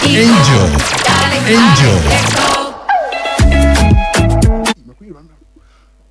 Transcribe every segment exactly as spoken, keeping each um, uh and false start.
Angel. Angel.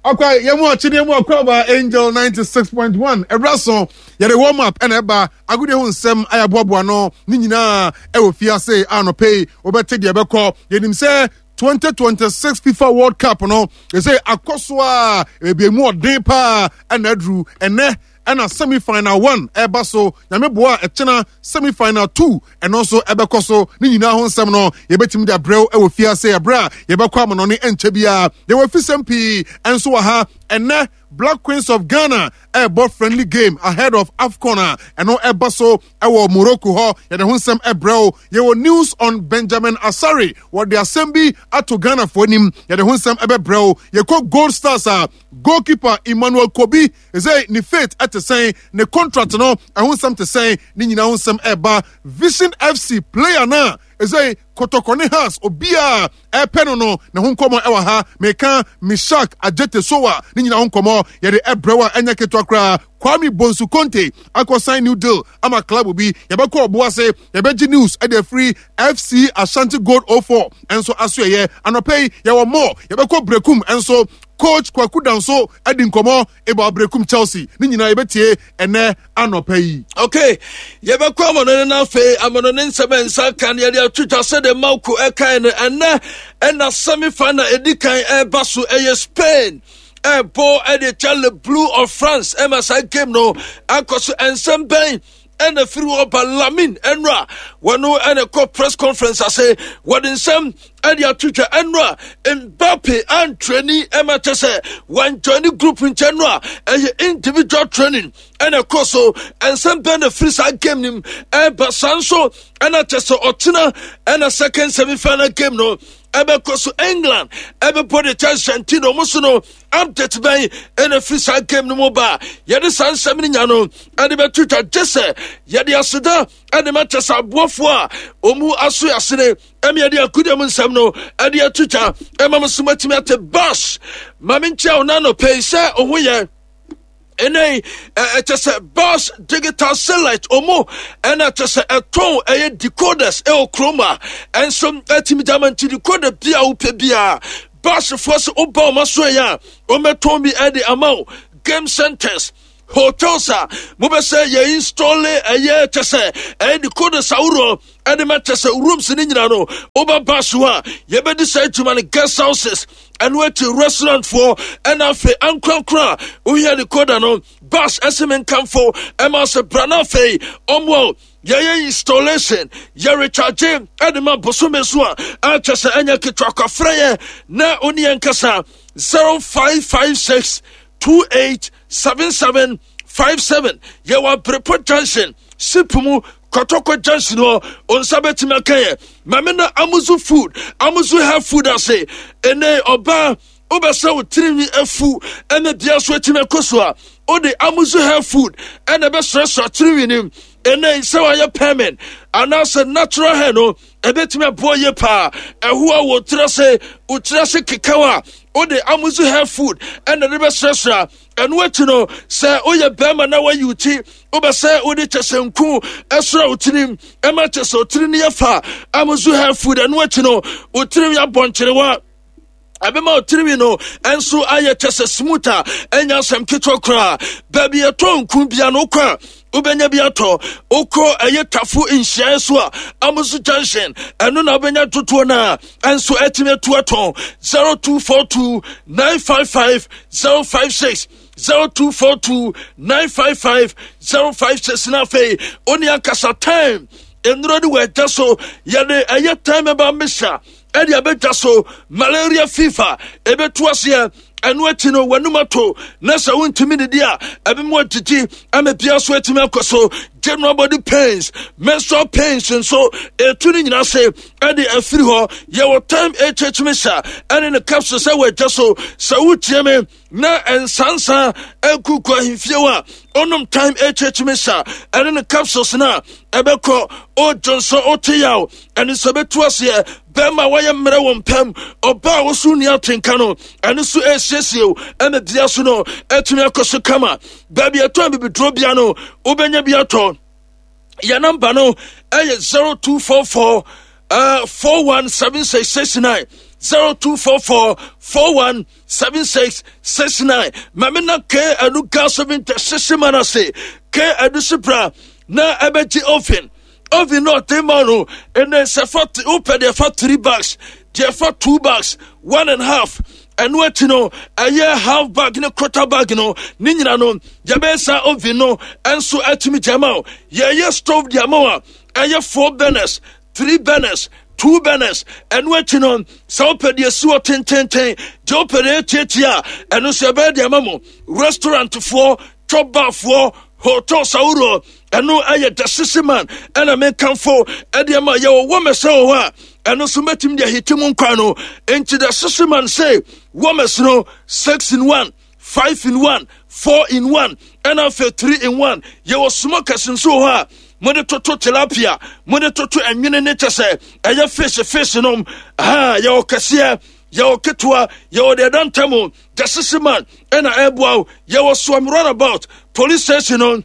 Okay, yɛn mu ɔkye ne yɛn mu ɔkɔ aba Angel ninety six point one ɛbra so yɛde warm up ɛna ɛba agodie ho nsɛm ayɛ aboaboa no ne nyinaa ɛwɔ fiase anɔpɛ yi wɔbɛte deɛ ɛbɛkɔ yɛnim sɛ twenty twenty six FIFA World Cup no ɛsɛ akɔ so a ebi emu ɔden paa ɛna aduru ɛnɛ ɛna semi final one ɛba so nyame boa ɛkyena semi final two ɛno nso ɛbɛkɔ so ne nyinaa ho nsɛm no yɛbɛtumi de abrɛw ɛwɔ fiase ɛberɛ a yɛbɛkɔ amanɔne ɛnkyɛ biara yɛwɔ afisɛm pii ɛnso wɔ ha ɛnɛ Black Queens of Ghana ɛrebɔ friendly game ahead of AFCON a ɛno ɛba so ɛwɔ Morocco hɔ yɛde ho nsɛm ɛbrɛw yɛwɔ news on Benjamin Asare wɔde asɛm bi ato Ghanafoɔ anim yɛde ho nsɛm ɛbɛbrɛw yɛkɔ Gold Stars a goalkeeper Emmanuel Kobi ɛsɛ ne fate ɛte sɛn ne contract no ɛho nsɛm te sɛn ne nyinaa ho nsɛm ɛba Vision FC player na ɛsɛ Kotoko ne Hearts obiara ɛpɛ no no ne ho nkɔmmɔ ɛwɔ ha meka Mishak Ajete Sowa ne nyinaa ho nkɔmmɔ yɛde ɛbrɛw a ɛnyɛ ketewa koraa Kwame Bonsu Conte akɔ sign new deal ama club bi yɛbɛkɔ ɔbo ase yɛbɛgye news ɛde afiri FC Ashanti Gold oh four ɛnso aso ɛyɛ anɔpɛ yi yɛwɔ mɔ yɛbɛkɔ Brekum ɛnso coach Kwaku Danso ɛdi nkɔmmɔ about Brekum Chelsea ne nyinaa yɛbɛtie ɛnɛ anɔpɛ yi. Okay, yɛbɛkɔ amanɔne no afei amanɔne nsɛm a nsa ka no yɛde ato dwa sɛdeɛ Marco ɛkae no ɛnɛ ɛna semi final ɛdi kan ɛreba so ɛyɛ Spain ɛbɔ ɛde kyɛ Le Bleu of France ɛma saa game no akɔ so nsɛm bɛn ɛna firi hɔ ba Lamin ɛnura wɔno ɛna kɔ press conference ase wɔde nsɛm ɛde ato dwa ɛnura Mbappe antrani ɛma kyɛ sɛ wɔnjoini group nkyɛn no a ɛyɛ individual training ɛna kɔ so nsɛm bɛn na firi saa game nim ɛba saa nso ɛna kyɛ sɛ ɔtena ɛna second semi final game no ɛbɛkɔ so England ɛbɛbɔ de kyɛ Argentina ɔmo so no update bɛn ɛna firi saa game no mu ba yɛde saa nsɛm no nya no ɛde bɛto dwa gye sɛ yɛde aseda ɛde ma kyɛ sɛ aboafoɔ a ɔmu aso asene ɛmi yɛde akudeɛ mu nsɛm no ɛde ato dwa ɛma mo so matumi ate bas ma menkyia wo nano pɛi sɛ ɔho yɛ ɛnɛ ɛkyɛ sɛ Bas Digital Satellite ɔmo ɛna kyɛ sɛ ɛtɔn ɛyɛ decoders ɛwɔ kurom a ɛnso ɛtumi gyama nti decoder bi a wopɛ biara Basfoɔ sɛ woba ɔma so ɛyɛ a ɔmɛtɔn bi ɛde ama wo game centers hotels a mobɛsɛ yɛ install ɛyɛ kyɛ sɛ ɛyɛ decoders ahoroɔ ɛde ma kyɛ sɛ rooms ne nyinaa no woba Bas hɔ a yɛbɛdi saa adwuma no guest houses ɛno akyi restaurant foɔ ɛna afei ankorankora a wohia decoder no Bas ɛsɛ me nkamfo ɛma sɛ bra no afei ɔmmoa yɛyɛ installation yɛ recharge ɛde ma bosome so a akyɛ sɛ ɛnyɛ ketewa kwafrɛ yɛ na wo ne yɛn kasa zero five five six two eight seven seven five seven yɛwɔ Abrepɔ Junction sipu mu Kɔtɔkɔ Junction hɔ onsa bɛtumi aka yɛ maame na Amuzu Food Amuzu Health Food ase ɛnɛ ɔbaa wobɛsɛ wo tirinwi afu ɛna bia so atumi akɔ so a wode Amuzu Health Food ɛna ɛbɛsrɛsrɛ tirinwi nim ɛnɛ sɛ wayɛ permanent anaasɛ natural hair no ɛbɛtumi aboa yie paa ɛho a wɔ tiri ase wo tiri ase kekaw a wode Amuzu Health Food ɛna de bɛsrɛsrɛ ɛno akyi no sɛ woyɛ bɛrima na wayi wo ti wobɛsɛ wode kyɛ sɛ nku ɛsrɛ wo tirim ɛma kyɛ sɛ wo tiri no yɛ fa Amuzu Health Food ɛno akyi no wo tirim yɛ abɔnkyerewa ɛbɛma wo tirinwi no ɛnso ayɛ kyɛ sɛ smooth a ɛnya asɛm ketewa koraa baabi yɛtɔ nku bia no wokɔ a wobɛnya bi atɔ wokɔ ɛyɛ Tafo nhyiaeɛ so a Amuzu Junction ɛno na wobɛnya dodoɔ no a ɛnso atumi atu atɔn zero two four two nine five five zero five six zero two four two nine five five zero five six na afei oni ankasa time nnuro de wɔ ɛgya so yɛde ɛyɛ time ɛba mmesa ɛde abɛdwa so malaria fever ɛbɛtu aseɛ ɛno akyi no w'anum ato na sɛ wontumi didi a ɛbɛmu agyegye ama bia so atumi akɔ so general body pains menstrual pains nso ɛtu no nyinaa se ɛde afiri hɔ yɛwɔ Time H misa ɛne ne capsule sɛ wɔagya so sɛ wotie me na nsansa akuku ahemfie hɔ a ɔnom Time H misa ɛne ne capsules no a ɛbɛkɔ ɔdwo nso wote yaw ɛne sɛ bɛtu aseɛ bɛrima a wɔyɛ mmerɛ wɔ mpam ɔbaa a wɔso nni atenka no ɛno so ɛsiesie wo ɛma bia so no ɛtumi akɔ so kama baabi ɛtɔ bibiduro bia no wobɛnya bi atɔ yɛ namba no ɛyɛ zero two four four uh, four one seven six six nine zero two four four four one seven six six nine. Maame na ke adu gas oven tɛ sisi mana se ke adu sipra na ɛbɛgye oven oven na ɔte ma no ɛnɛ sɛ fa wopɛ deɛ fa three bags deɛ fa two bags one and half ɛno akyi no ɛyɛ half bag ne quarter bag no ne nyina no yɛbɛyɛ saa oven no ɛnso atumi gyama o yɛyɛ stove deɛ ama a ɛyɛ four burners three burners two burners ɛno akyi no sɛ wopɛ deɛ si hɔ tententen deɛ wopɛ deɛ tiatia a ɛno nso yɛbɛyɛ deɛ ama mo restaurantfoɔ chop barfoɔ hotels ahoroɔ ɛno ɛyɛ the sisi man ɛna mekamfo ɛde ama yɛwɔ wɔmɛsɛ wɔ hɔ a ɛno nso mɛtumi de ahiti mu nkwan no nti the sisi man say wɔmɛs no six in one five in one four in one ɛna afei three in one yɛwɔ smokers nso wɔ hɔ a mode toto tilapia mode toto ɛnwene ne kyɛ sɛ ɛyɛ fish fish nom ha yɛwɔ kɛseɛ yɛwɔ ketewa yɛwɔ deɛ ɛda ntam the sisi man ɛna ɛboa wo yɛwɔ suam runabout police station no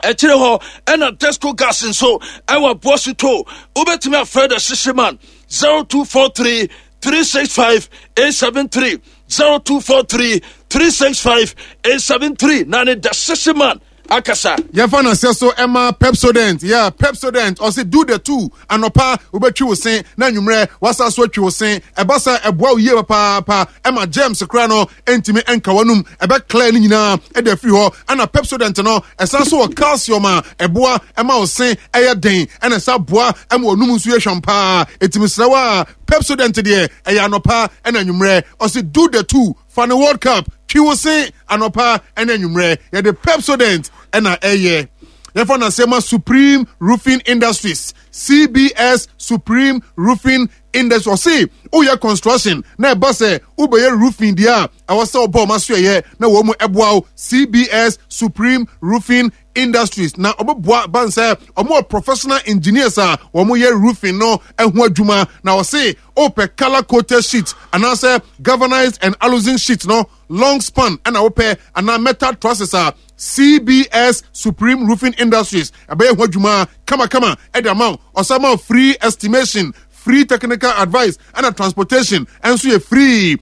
ɛkyerɛ hɔ ɛna desco gas nso ɛwɔ aboaso to wobɛtumi afrɛ the sisi man zero two four three three six five eight seven three zero two four three three six five eight seven three na ne the sisi man akasa. yɛfa naseɛ so ɛma pepsodent yeah pepsodent ɔse do the two anɔpa wobɛtwi wo se na anwummerɛ wasa so atwi wo se ɛba sɛ ɛboa wo yie papaapa ɛma germs koraa no ɛntumi ɛnka w'anum ɛbɛclear no nyinaa ɛde afiri hɔ ɛna pepsodent no ɛsan so wɔ calcium a ɛboa ɛma wo se ɛyɛ den ɛna ɛsa boa ɛma w'anum nso yɛ hwam paa ɛtumi srɛ wo a pepsodent deɛ ɛyɛ anɔpa ɛna anwummerɛ ɔse do the two fa ne world cup twi wo se anɔpa ɛne anwummerɛ yɛde pepsodent ɛna ɛyɛ yɛfa no asɛm a supreme roofing industries cbs supreme roofing industries ɔse woyɛ construction na ɛba sɛ wobɛyɛ roofing deɛ a ɛwɔ sɛ wobɔ ɔma so ɛyɛ na wɔn mu ɛboa wo cbs supreme roofing industries na ɔbɛboa ban sɛ ɔmo wɔ professional engineers a wɔn yɛ roofing no ɛho adwuma na ɔse ɔpɛ colour coated sheet anaasɛ galvanized and aluzinc sheet no long span ɛna wopɛ anaa metal trusses a cbs supreme roofing industries ɛbɛyɛ ho adwuma kamakama ɛde ama wo ɔsan ma wo free estimation free technical advice ɛna transportation ɛnso yɛ free.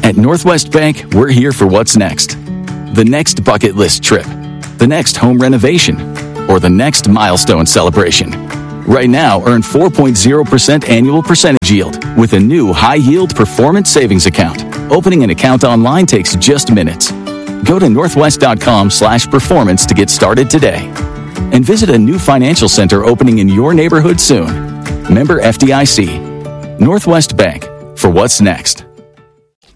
At Northwest Bank, we're here for what's next. The next bucket list trip, the next home renovation, or the next milestone celebration. Right now, earn four point zero percent annual percentage yield with a new high yield performance savings account. Opening an account online takes just minutes. Go to northwest.com slash performance to get started today. And visit a new financial center opening in your neighborhood soon. Member F D I C. Northwest Bank, for what's next.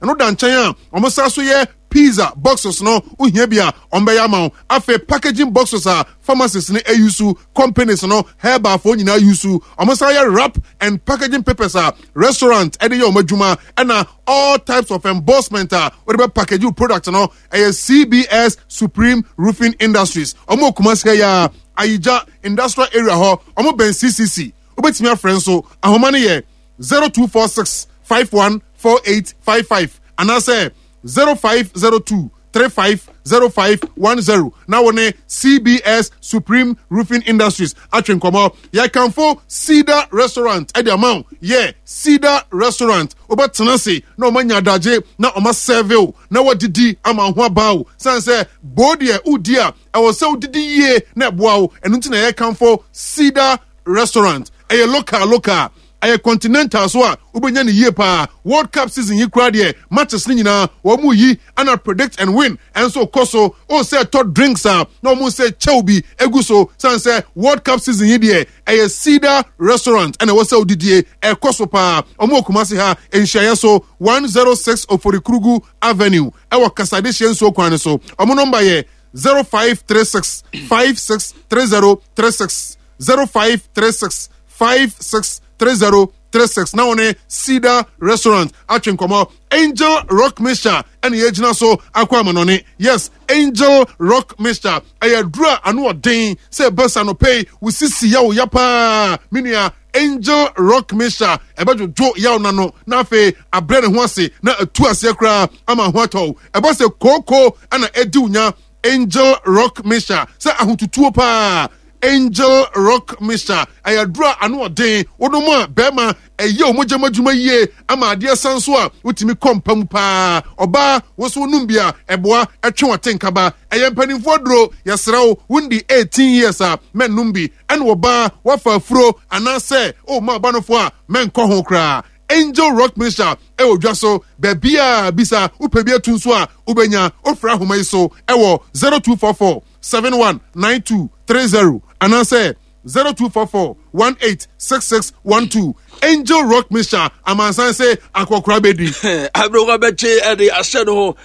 Ɛno da nkyɛn a ɔmo sa so yɛ pizza boxes no wohia bi a ɔmbɛyɛ ama wo afei packaging boxes a pharmacies no ayusu companies no herbalfoɔ nyinaa yusu ɔmo sa yɛ wrap and packaging papers a restaurant ɛde yɛ ɔmo adwuma ɛna all types of embossment a wɔde bɛ package product no ɛyɛ C B S Supreme Roofing Industries ɔmo Kumasi ha yi a Ayigya industrial area hɔ ɔmo bɛn C C C wobɛtumi afrɛ nso ahoma no yɛ zero two four six five one four eight five five anaasɛ zero five zero two three five zero five one zero. Na wo ne C B S Supreme Roofing Industries atwe nkɔmmɔ. Yɛkamfo Cedar Restaurant ɛde ama wo. Yɛ Cedar Restaurant wobɛtena ase na ɔma nya adagye na ɔma serve wo na wadidi ama ho aba wo. San sɛ bo deɛ wodi a ɛwɔ sɛ wodidi yie na ɛboa wo. Ɛno nti na yɛkamfo Cedar Restaurant. Ɛyɛ local local. Ɛyɛ continental so a wobɛnya ne yie paa. World Cup season yi koraa deɛ matches ne nyinaa wɔn mu yi ana predict and win ɛnso kɔ so. O sɛ tɔ drinks a na wɔn sɛ kyɛw bi egu so. San sɛ World Cup season yi deɛ ɛyɛ Cedar Restaurant ɛna ɛwɔ sɛ odidie ɛkɔ so paa. Wɔn wɔ Kumasi ha nhyiaeɛ so one zero six Oforikrugu Avenue ɛwɔ Kasadehyɛ nsuo kwan no so. Wɔn nɔmba yɛ zero five three six five six three zero three six zero five three six five six three zero three six. Na wɔne Cedar Restaurant atwe nkɔmɔ. Angel Rock Mixture ɛna yɛgyina so akɔ amanɔne. Yes, Angel Rock Mixture ɛyɛ aduru a ano ɔden sɛ ɛbɛsa no pɛi wosisi yawo ya paa. Menua Angel Rock Mixture ɛbɛdwodwo yawo n'ano na afei abrɛ ne ho ase na atu aseɛ koraa ama ho atɔ. Ɛbɔ sɛ kooko ɛna ɛdi wo nya. Angel Rock Mixture sɛ ahotutuo paa. Angel Rock Mixture ɛyɛ aduro a ano ɔden. Wonom a, bɛrima, ɛyɛ wo mogyam adwuma yie ama adeɛ san so a wotumi kɔ mpa mu paa. Ɔbaa, wo so wonom bi a, ɛboa ɛtwe wate nkaba. Ɛyɛ mpanimfoɔ duro. Yɛsrɛ wo, wondi eighteen years a, mɛnnom bi. Ɛne ɔbaa, wafa afuro anaasɛ ɔma ɔba a, mɛnkɔ ho koraa. Angel Rock Mixture ɛwɔ dwa so baabi a bisa wopɛ bi atu nso a, wobɛnya. Wofrɛ ahoma yi so ɛwɔ zero two four four seven one nine two three zero anaasɛ zero two four four one eight six six one two. Angel Rock Mixture, amansan sɛ akɔkora bɛdi. Aberewa bɛgye ɛde ahyɛ no ho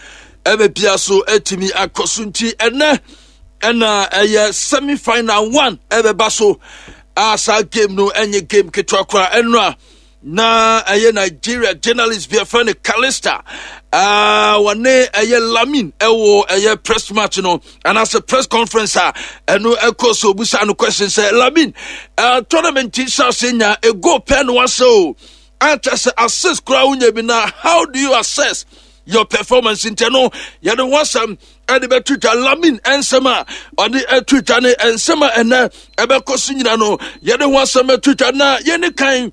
ɛbɛ bia so atumi akɔ so. Nti ɛnɛ ɛna ɛyɛ semi final one ɛbɛba so a, saa game no ɛnyɛ game ketewa koraa. Ɛno a na ɛyɛ Nigeria journalist bi ɛfrɛ no Calista, uh, wɔne ɛyɛ Lamin ɛwɔ ɛyɛ press match no anaasɛ press conference a ɛno ɛkɔ so. Obusa no question sɛ, "Lamin, uh, tournament yi hyɛ ase nya a goal pɛ no wasɛ o, akyɛ sɛ assist koraa wonya bi, na how do you assess your performance?" Nti no yɛde ho asɛm ɛde bɛto dwa. Lamin nsɛm a ɔde ɛto dwa ne nsɛm a ɛnɛ ɛbɛkɔ so nyina no, yɛde ho asɛm ɛto dwa. Na yɛne kan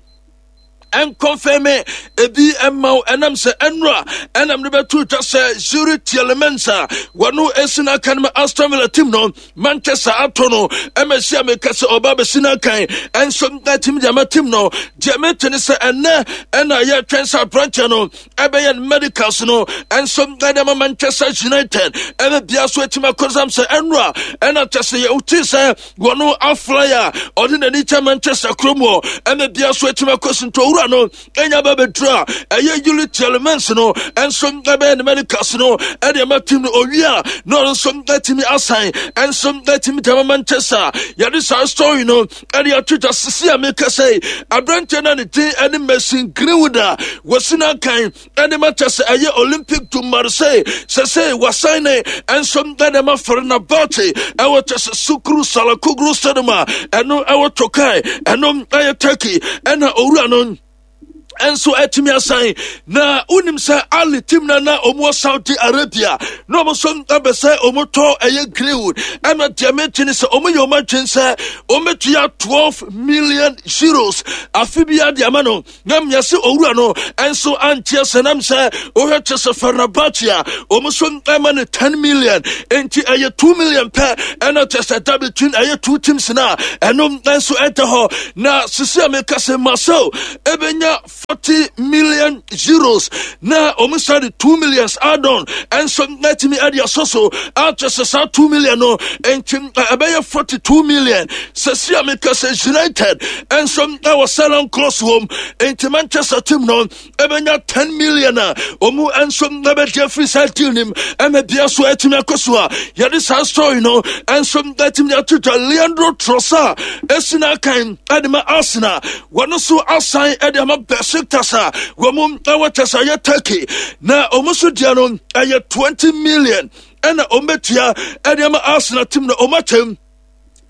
ɛnkɔnfɛme ebi ɛma wo ɛnam sɛ ɛnura ɛnam de bɛto dwa sɛ Youri Tielemans a wɔno esi n'aka no ma Aston Villa team no, Manchester ato no ɛma si a meka sɛ ɔba bɛsi n'akan ɛnso ɛtumi de ama team no. Deɛ mete ne sɛ ɛnɛ ɛna yɛtwɛn sɛ aberanteɛ no ɛbɛyɛ no medicals no ɛnso ɛde ama Manchester United ɛbɛ bia so atumi akɔsam sɛ ɛnura ɛna kyɛ sɛ yɛwote sɛ wɔno afly a ɔde n'ani kyɛ Manchester kurom hɔ ɛmɛ bia so atumi akɔ so. Nti owura no ɛnya ba bɛduru a, ɛyɛ Youri Tielemans no ɛnso ɛbɛyɛ ne medicals no ɛde ama team no. Owie a, na ɔno nso atumi asan ɛnso atumi de ama Manchester. Yɛde saa story no ɛde ato dwa. Sisi a meka sɛ aberanteɛ no a ne din ɛne Mason Greenwood a wɔsi no akan ɛne Manchester ɛyɛ Olympique du Marseille, sɛ sɛ wasan ne ɛnso ɛde ma Fenerbahce ɛwɔ kyɛ sɛ Sukru Saracoglu Stadium a ɛno ɛwɔ Tokai, ɛno ɛyɛ Turkey, ɛna owura no nso atumi asan. Na wonim sɛ Ali team na na ɔmo wɔ Saudi Arabia na ɔmo nso abɛ sɛ ɔmo tɔ ɛyɛ Greenwood. Ɛna deɛ mete ne sɛ ɔmo yɛ ɔmo adwene sɛ ɔmo bɛtua twelve million euros afe bi ade ama no, na mmea sɛ owura no nso anteɛ sɛ nam sɛ wohwɛ kyɛ sɛ Fenerbahce a ɔmo nso ɛma no ten million, nti ɛyɛ two million pɛ ɛna kyɛ sɛ da between ɛyɛ two teams na ɛno nso ɛda hɔ. Na sisi a meka sɛ Marcel ɛbɛnya forty million euros na ɔmo sa de two millions add on ɛnso ɛtumi ɛde asɔ so akyɛ sɛ saa two million no, nti ɛbɛyɛ forty-two million. Sɛsi a meka sɛ United ɛnso ɛwɔ sell-on clause wɔm, nti Manchester team no ɛbɛnya ten million a ɔmo nso ɛbɛgye afiri saa deal nim ɛma bia so ɛtumi akɔ so a yɛde saa story no ɛnso ɛtumi ato dwa. Leandro Trossard esi n'akan ɛde ma Arsenal, wɔn nso asan ɛde ama Besiktas a wɔn ɛwɔ kyɛ sɛ ɛyɛ Turkey, na wɔn nso deɛ no ɛyɛ twenty million ɛna wɔn bɛtua ɛde ama Arsenal team no. Wɔn akyɛm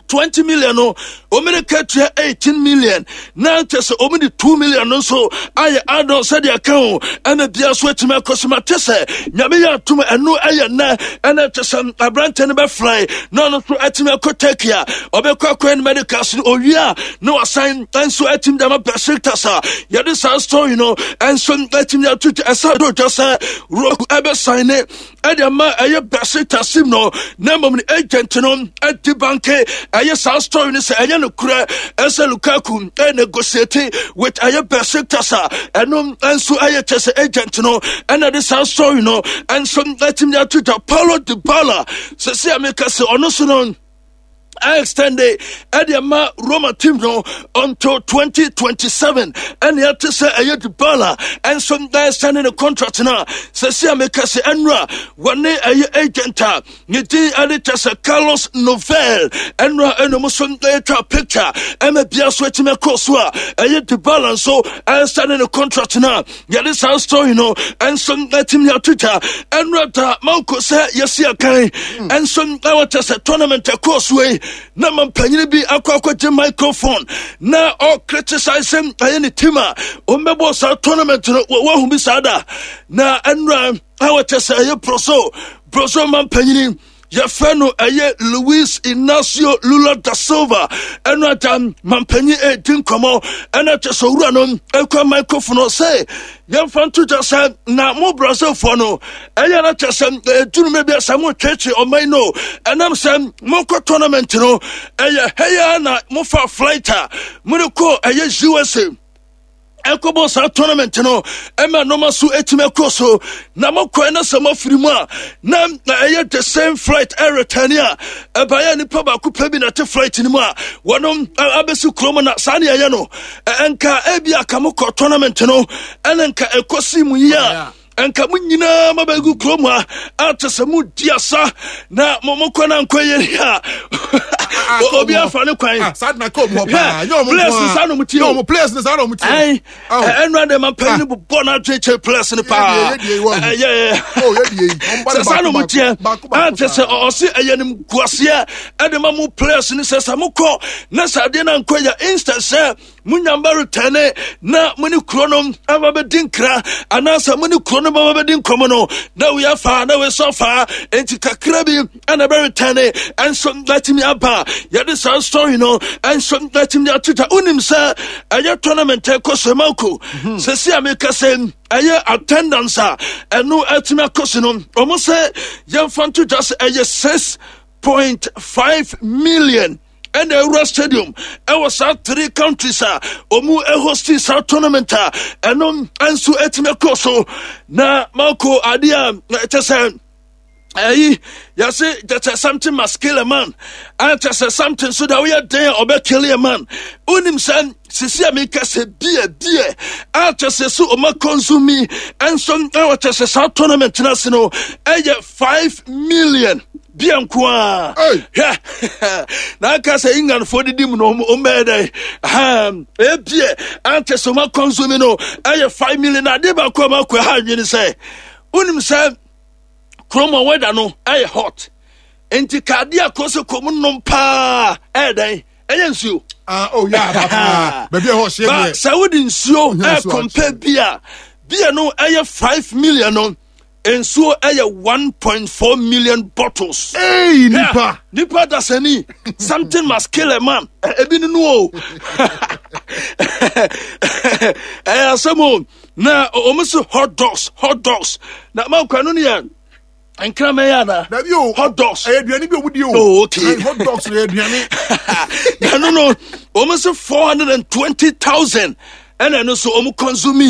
twenty million no, wɔn de katua eighteen million na kyɛ sɛ wɔn de two million no nso ayɛ add-on sɛdeɛ ka ho ɛna bia so atumi akɔ so. Ma kyɛ sɛ Nyame yɛ atom, ɛno ɛyɛ nnɛ ɛna kyɛ sɛ aberante no bɛfly na ɔno nso atumi akɔ Turkey a ɔbɛkɔ akɔyɛ no medicals no. Owie a, na wasan nso atumi de ama Besiktas a yɛde saa story no nso atumi ato. Ɛsa do dwa sɛ Roku ɛbɛsan ne ɛde ama ɛyɛ Besiktas team no, na mmom ne agent no ɛdi banke ɛyɛ saa story no sɛ ɛnyɛ no korɛ ɛsɛ Lukaku ɛyɛ negotiate with ɛyɛ Besiktas a ɛno nso ɛyɛ kyɛ sɛ agent no ɛna de saa story no ɛnso ɛtumi ato dwa. Paulo Dybala, sɛ sɛ ameka sɛ ɔno so no extend ɛde ama Roma team no until twenty twenty-seven. Ɛne ɛte sɛ ɛyɛ Dybala ɛnso ɛsɛne ne contract no a sɛ si a meka sɛ ɛnura wɔne ɛyɛ agent a ne din ɛde kyɛ sɛ Carlos Novel ɛnura ɛnum so ɛtwa picture ɛma bia so atumi akɔ so a ɛyɛ Dybala nso ɛsɛne ne contract no a yɛde saa story no ɛnso ɛtumi ato dwa. Ɛnura da manko sɛ yɛsi akan ɛnso ɛwɔ kyɛ sɛ tournament ɛkɔɔ so yi na ma mpanyin bi akɔ akɔgye microphone na ɔcriticize ɛyɛ ne team a ɔmbɛbɔ saa tournament no. Wɔahu bi saa da na ɛnura ɛwɔ kyɛ sɛ ɛyɛ Brazil Brazil ma mpanyin Yɛfrɛ no ɛyɛ Luis Inacio Lula da Silva. Ɛno ada mampanyin ɛredi nkɔmmɔ, ɛna kyɛ sɛ owura no ɛkura microphone no sɛ yɛmfa nto gya sɛ na mo Brazilfoɔ no ɛyɛ no kyɛ sɛ ɛduru bi sɛ motwetwe ɔman no, ɛnam sɛ mokɔ tournament no ɛyɛ hɛyɛ na mofa flight a mode kɔ ɛyɛ U S A ɛkɔbɔ saa tournament no, ɛma nɔɔma so ɛtumi ɛkɔ so na mokɔɛ na sɛ moafiri mu a na ɛyɛ the same flight ɛretane a ɛbaeɛ nipa baako pɛ bi na ɛte flight no mu a wɔnom abɛsi kurom. Na saa ne ɛyɛ no, ɛnka ebi aka mokɔ tournament no ɛne nka ɛkɔsi mu yi a nka mo nyinaa mabɛgu kurom a ate sɛ modi asa na mokɔ na nkɔ yɛ a obi afa ne kwan. Players saa na ɔmo tie o. Players ne saa na ɔmo tie. Ɛnu ade ma panyin bobɔ n'adwe kyɛ players ne paa sɛ saa na ɔmo tie ate sɛ ɔsi ɛyɛ nim guaseɛ ɛde ma mo players ne sɛ sɛ mokɔ na sɛ adeɛ na nkɔ yɛ instant sɛ munyamba retɛne na mo ne kuro no aba bɛdi nkra anaasɛ mo ne kuro no bɛba bɛdi nkɔmmɔ no na wei afa na wei so afa, enti kakra bi ɛna bɛretɛne ɛnso atumi aba. Yɛde saa story no ɛnso atumi ato gya. Wonim sɛ ɛyɛ tournament ɛkɔ so mako sɛsi a meka sɛ ɛyɛ attendance a ɛno atumi akɔ so no, ɔmo sɛ yɛmfa nto gya sɛ ɛyɛ six point five million ɛna ewura stadium ɛwɔ saa three countries a ɔmu ɛhosti saa tournament a ɛno nso ɛtumi kɔ so. Na mako adeɛ a ɛkyɛ sɛ ɛyi yɛse kyɛ something must kill a man, ɛkyɛ sɛ something so da woyɛ den a ɔbɛ kill a man. Wonim sɛ sisi a meka sɛ beer beer a kyɛ sɛ so ɔma consume ɛnso ɛwɔ kyɛ sɛ saa tournament no ase no ɛyɛ five million beer nko a. Hwɛ na aka sɛ Englandfoɔ didi mu no, ɔmbɛyɛ dɛ ɛyɛ beer a kyɛ sɛ ɔma consume no ɛyɛ five million. Na adeɛ baako a makɔ ha adwene sɛ wonim sɛ kurom a weather no ɛyɛ hot, nti kaade a kɔ sɛ kɔm nom paa ɛyɛ dɛn? Ɛyɛ nsuo. Ah, oh yeah, papa baabi a ɛhɔ hyɛ deɛ. Sɛ wode nsuo ɛcompare beer beer no ɛyɛ five million no, nsuo ɛyɛ one point four million bottles. Hey, nipa. Nipa dasani, something must kill a man. Ebi nínú o, ɛyɛ asɛm o. Na wɔn sɛ hot dogs, hot dogs na maa no yɛ nkraman yɛ ana? Dabi o. Hot dogs. Ɛyɛ aduane bi a wɔn di o. Oh, okay. Hot dogs yɛ aduane. Na no no wɔn sɛ four hundred and twenty thousand ɛna ɛno so wɔn consume.